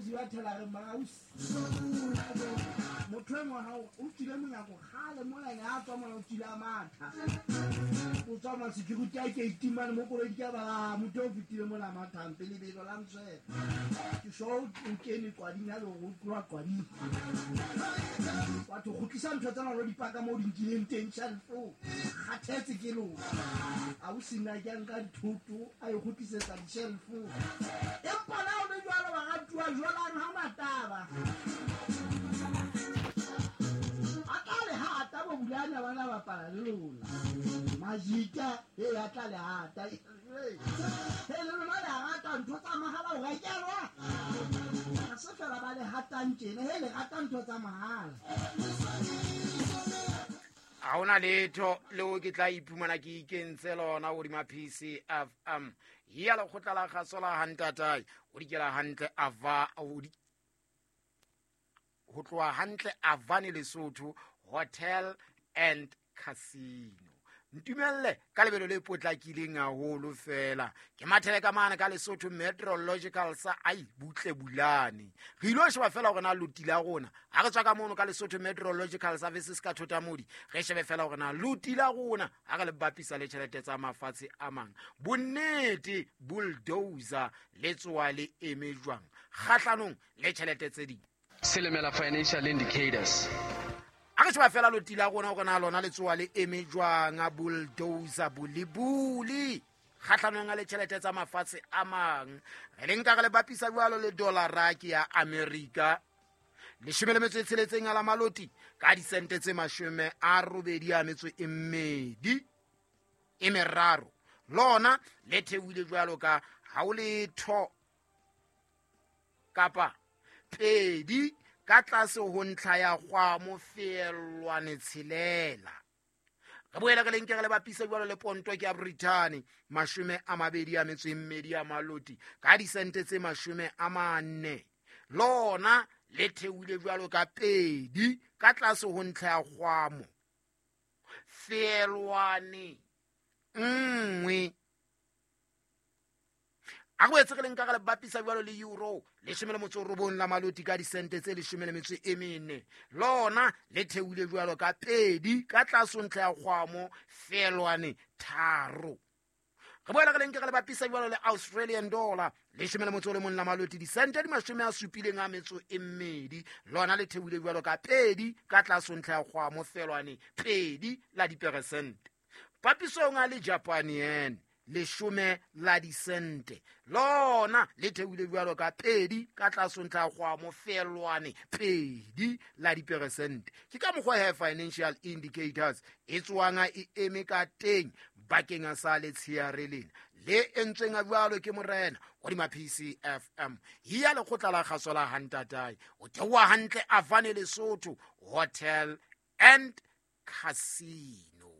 Zibathela re mausi motho e mongwe gao o tswile monyako gale mola ene a tswa mola o tswile a matha o tswa ma security a ke itimane mo koloi ke ba motho o fetile mola a mathang pele belo la mswela ke sho o kene kwading ya le go tloa kwading batho kgutlisa ntho tsena lo dipaka mo di nkileng teng shelfo kgathetse ke lona a o sena ke nka dithoto a e kgutlisetsa dishelfo empa na o le jwalo baratuwa jwalang ha mataba a tla le hata bo bulana bana bapala le lona majika e a tla le hata e le lona le rata ntho tsa mahala o rekelwa ha se fela ba le hatang tjena he le rata ntho tsa mahala. Ga ona letho leo ke tla iphumana ke ikentse lona godima PCFM ya lekgotla la kgaso la gantatae o dikela hantle ava go tloga hantle Avane Lesotho Hotel and Casino. Ntumelle ka lebelo le potlakileng haholo fela ke mathele ka mane ka Lesotho Meteorological sa ai butle bulane re ilo sheba fela gore na loti la rona ga re tswa ka mono ka Lesotho Meteorological Services ka Thotamodi re shebe fela gore na loti la rona ga re le bapisa le tšhelete tsa mafatshe a mang bonnete bulldozer le tsoa le eme jwang kgatlhanong le tšhelete tse ding. Selemela Financial Indicators. A re sheba fela loti la rona gore na lona le tsoa le eme jwang a bulldozer bulibuli kgatlhanong a le tšhelete tsa mafatshe a mang re le nka re le bapisa jwalo le dollara ke ya Amerika 16 a la maloti ka disente tse 83 lona le theohile jwalo ka ha o letho kapa 2 ka tlase ho ntlha ya kgwamo feelwane tshelela. Re boela re lenke re le bapisa jwalo le ponto ke ya Britain 22 a maloti ka disente tse 40 lona le theohile jwalo ka 2 ka tlase ho ntlha ya kgwamo feelwane 1. A go etse re leng ka re le bapisa jwalo le euro 19 la maloti ka disente tse 14 lona le theohile jwalo ka 2 ka tlase ntlha ya kgwamo feelwane 3. Re boela re lenke re le bapisa jwalo le Australian dollar 11 la maloti disente di 72 lona le theohile jwalo ka 2 ka tlase ntlha ya kgwamo feelwane 2 la diperesente. Papisong a le Japan yen 10 la disente lona le theohile jwalo ka 2 ka tlase ntlha ya kgwamo feelwane 2 la diperesente. Ke ka mokgwa he Financial Indicators e tswang e eme ka teng bakeng sa letsheare lena le entsweng a jwalo ke morena hodima PCFM ya lekgotla la kgaso la Hantatae o theoha hantle Avane Lesotho Hotel and Casino.